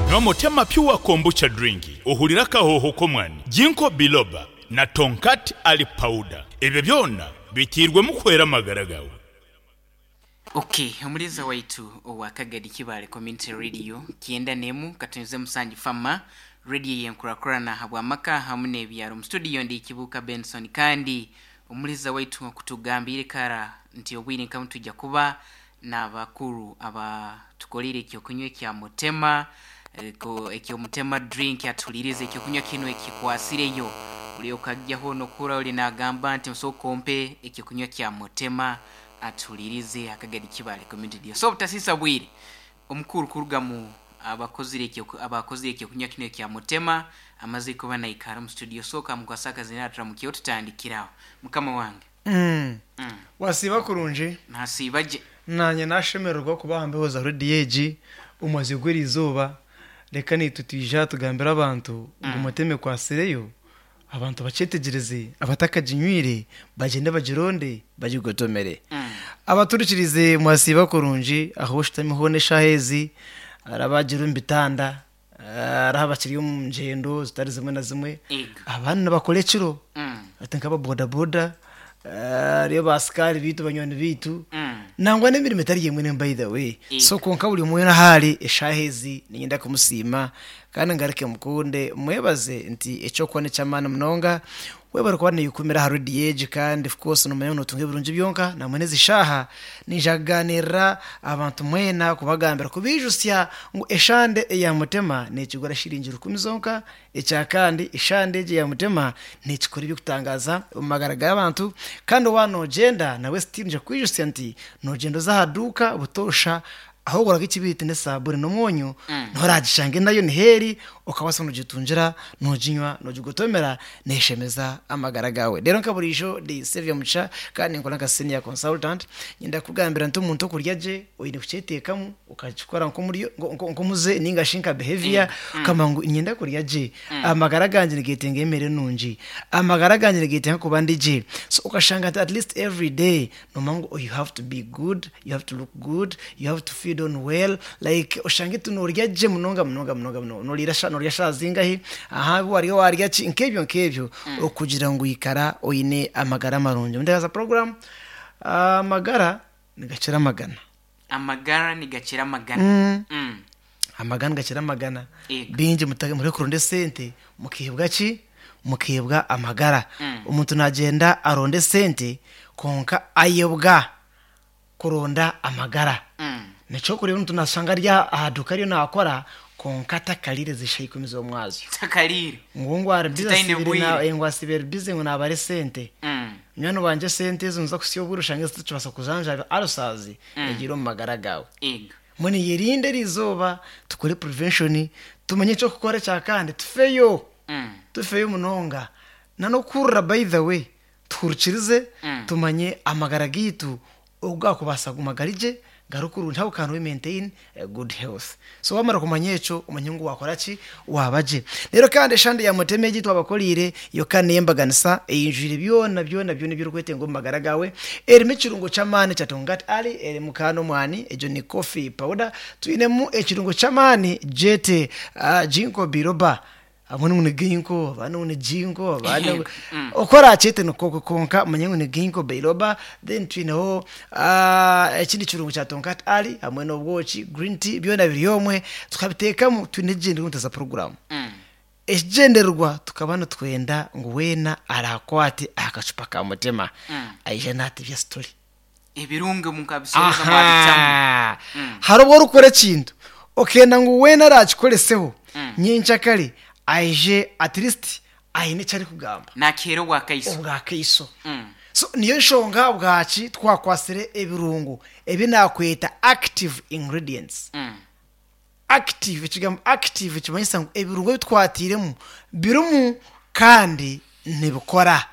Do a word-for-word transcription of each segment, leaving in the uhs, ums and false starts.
Nywa Mutema Pure Kombucha Drink, ohurire akahoho k'omwani, Ginkgo Biloba na Tongkat Ali Powder. Ebyo byona bitiirwemu kuhwera amagara gawe. Okay, omuliza waitu owa Kagadi Kibale Community Radio kyenda nemu katunyuze musanju fama radio yenkurakurana habwamaka hamu n'ebyaro. Mu studio ndi Kibuka Benson, kandi omuliza waitu okutugambire kara nti obwire nkamu tujja kuba n'abakuru abatukolire ekyokunywa ekya Mutema, eko- ekyomutema drink, atulirize ekyokunywa kino ekikwasireyo uli okajjaho nokura uli nagamba nti nsooka ompe ekyokunywa kya Mutema, atulirize Akagadi Kibale Community Radio. So obutasisa bwire, omukuru kuruga mu abakozire ekyo abakozire ekyokunywa kino ekya Mutema amaze kuba naikara mu studio, soka mukwasaka zinatra mukyo tutandikiraho mukama wange. Mm. Mm. Wasiiba kurungi? Nasiiba gye. Nanye nashemererwa kuba hambeho za rediyo egi omumazi gw'eri izooba. Reka nitwe twija tugambire abantu ngu Mutema ekwasireyo, abantu bakyetegyereze, abatakaginywire bagyende bagironde bagigotomere. Mm. Abaturikirize, mwasiiba kurungi aho oshutami hoona eshaaha ezi, arabagira omu bitanda, hariho abakiri omu ngyendo zitari zimwe na zimwe, Ego. abandi nibakora ekiro, Mm. ati nk'ababodaboda, hariyo basikari biitu, banywani biitu, Mm. nangwa n'emirimo etari emwe n'emwe, by the way. Ego. So konka buri omwe ahari eshaaha ezi niinyenda kumusiima kandi ngaruke mukunde mwebaze nti ekyokuba neky'amaani munonga webare kuba niyikumira aha rediyo egi. Kandi of course nomanya ngu notunga ebirungi byonka. Namwe n'ezi shaaha ninja kuganirira abantu mwena, kubagambira, kubijusya ngu eshande eya Mutema nekigura shiringi rukumi zonka. Ekya kandi, eshande egi eya Mutema nekikora ebyokutangaza omu magara g'abantu. Kandi wa nogyenda nawe still nja kwijusya nti nogyenda oza aha duuka butoosha aho oguraga ekibiriti n'esaabuni n'omwonyo, noragishange nayo niheeri, okabasa nogitungira, noginywa, nogigotomera, neshemeza amagara gawe. Rero nka burijo ndi Saviour Mugisha kandi nkora nka senior consultant. Nyenda kugambira nti omuntu okurya gye oine kukyeteekamu, ukakikora nk'omuryo nko- nko- nk'omuze ninga shi nka behavior, ukamba ngu nyenda kurya gye, amagara gangye nigetenga emere nungi, amagara gangye nigetenga kuba ndi gye. So ukashanga nti at least every day nomanya ngu you have to be good, you have to look good, you have to feed on well, like oshange tu norya gye munonga munonga munonga munonga, norira sha norya sha zingahi aha warya warya ki, nk'ebyo nk'ebyo, okugira ngu ikara oine amagara marungi. Ndaza program amagara nigakira amagana. Amagara nigakira amagana. Mm. Mm. Amagana gakira amagana. Ego. Bingi muta- muri kurunda esente mukihebwa ki? Mukihebwa amagara. Mm. Omuntu nagenda aronda esente konka ayebwa kuronda amagara. Mm. Nikyo kureba omuntu nasanga ari aha duka ariyo nakora konka atakarire zisha ikumi z'omwazyo. Takalire. Ngu ngu ari busy. Titaine asibire bwire. na- ngu asibire busy ngu nabara esente. Mm. Nywani wanje, esente ezo nza kusya obwire oshange zitakibasa kujanjaba arusazi egiire omu magara gawe. Ego. Mbwenu yerinde eri izooba, tukore prevention, tumanye ekyokukora. Ekya kandi, tufeyo, Mm. tufeyo munonga nanokurira. By the way, tuhurikirize, Mm. tumanye amagara gaitu ogu gakubasa guma gari gye, gari kurungi. How can we maintain a good health? So wamara kumanya ekyo, omanye ngu wakora ki, waba gye. Rero kandi eshande ya Mutema egi twabakoriire yo kandi neyembaganisa, eyinjwire byona byona byona ebyorikwetenga omu magara gawe. Erimu ekirungo ky'amaani kya Tongkat Ali, erimu kandi omwani, egyo ni coffee powder, twinemu ekirungo ky'amaani jete uh, ginkgo biloba. Abone ngu ni ginkgo, abandi ngu ni jinko, abandi ngu Mm. okora kyete nikoko, konka manye ngu ni ginkgo biloba. Then twineho ah, ekindi kirungo kya Tongkat Ali hamwe n'obwoki, green tea, byona biri omwe tukabiteekamu. Twine ekigyendererwa ntaza program. Mm. Ekigyendererwa tukaba nitwenda ngu weena arakwate akacupa ka Mutima, Mm. aije natebya story. Ebirungo mukabisoreza mwabitamu. Aha. Mm. Hari obwo orikukora ekintu okenda ngu weena arakikoreseho Mm. nyenkyakare aije at least aine eki arikugamba. Nakera obwakaiso. Obwakaiso. Mm. So niyo nshonga bwaki twakwasire ebirungo ebi nakweta active ingredients. Mm. Active, ekigambo active kimanyisa ngu ebirungo ebi twatiiremu birimu kandi nibikora.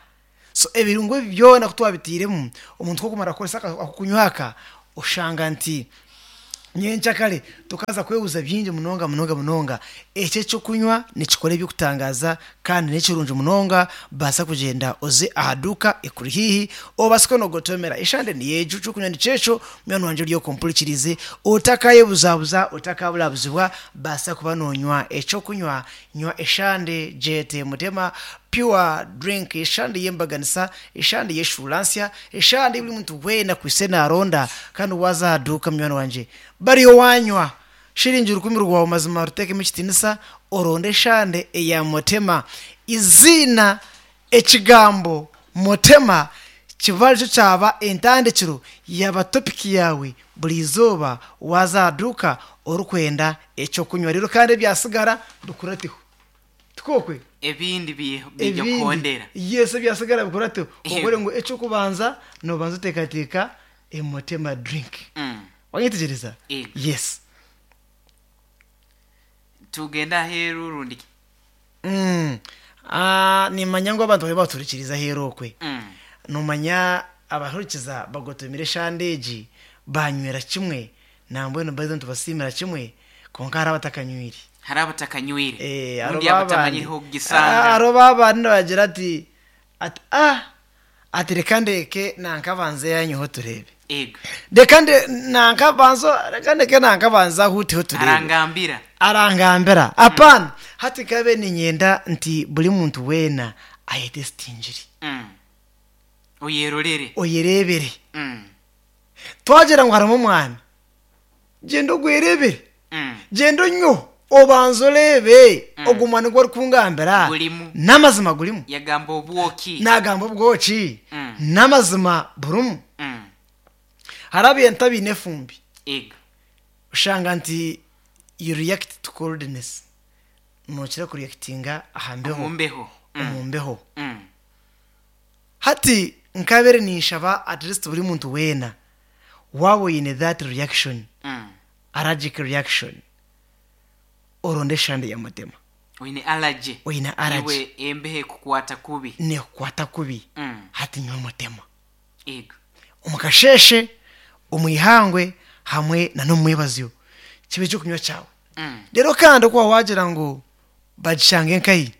So ebirungo ebi byona ku twabitiiremu, omuntu kokumara kukoresa aka- ako kunywa aka, oshanga nti Nyenkyakare tukaza kwebuza bingi munonga munonga munonga. Ekyo ekyokunywa nikikora ebyokutangaza kandi nekirungi munonga. Baasa kugyenda oze aha duuka ekuri hiihi, obaase kunogotomera eshande niyejo, ekyokunywa nikyekyo. Munywani wangye ori okumpurikirize, otakayebuzabuza, otakaburabuzibwa, baasa kuba nonywa ekyokunywa. Nywa eshande gyete Mutema Pure Drink, eshande y'embaganisa, eshande y'eshuuransya, eshande buri muntu weena kwise naronda. Kandi waza aha duuka, munywani wangye, bariyo wanywa shiringi rukumi rwawe, mazima ruteekemu ekitiinisa, oronde eshande eya Mutema. Iziina ekigambo Mutema kiba aricyo kyaba entandikiro yaba topiki yawe buri izooba waza aha duuka orikwenda ekyokunywa. Rero kandi ebyasigara bikurateho tikokwe. Ebindi bi- bijja kuhondera. Yes, ebyasigara bikurateho. Ehe. Obure ngu ekyokubanza nobanza oteekateeka Emotema Drink. Mm. Wanyetegyereza? Ego. Yes. Tugenda aheeru rundi? Mm. Ah, nimanya ngu abantu bari baturikiriza aheeru okwe. Mm. Nomanya abahurikiza bagotomire eshande egi, banywera kimwe, nambwenu baize nitubasiimira kimwe, konka hariho abatakanywire. Hari abatakanywire. Eh, hariho rundi babandi- abatamanyireho Ah, kugisanga. hariho babandi nibagira ati ati ah ati reka ndeke nankabanze yanyeho turebe. Ego. Reka nde nankabanza, reka ndeke nankabanza ahuteho turebe. Arangambira. Arangambira apana. Hati kabe ninyenda nti buri muntu weena ayetesitingire. Mm. Oyerorere. Oyerebere. Mm. Twagira ngu harimu omwani, gyenda ogwerebere. Mm. Gyenda onyweho, obanza orebe Mm. ogu mwani gwu orikungambira Gurimu. n'amazima gurimu. Yagamba obwoki. Nagamba obwoki. Mm. N'amazima burimu. Mm. Hari abintu abiine efumbi. Ego. Oshanga nti you react to coldness, nokira kureactinga aha mbeho. Omumbeho. Mm. Omu mbeho. Mm. Hati nkabere ninshaba at least buri muntu weena waaba oyine that reaction, Mm. allergic reaction, oronde eshande ya Mutema. Oyine allergy. Oyine allergy. Iwe embeho ekukwata kubi. Nekukwata kubi. Mm. Hati nywa Mutema. Ego. Omu kasheshe, omu ihangwe, hamwe na n'omwebazyo, kibe ekyokunywa kyawe. Mm. Rero kandi okuba wagira ngu bagishanga enkayi.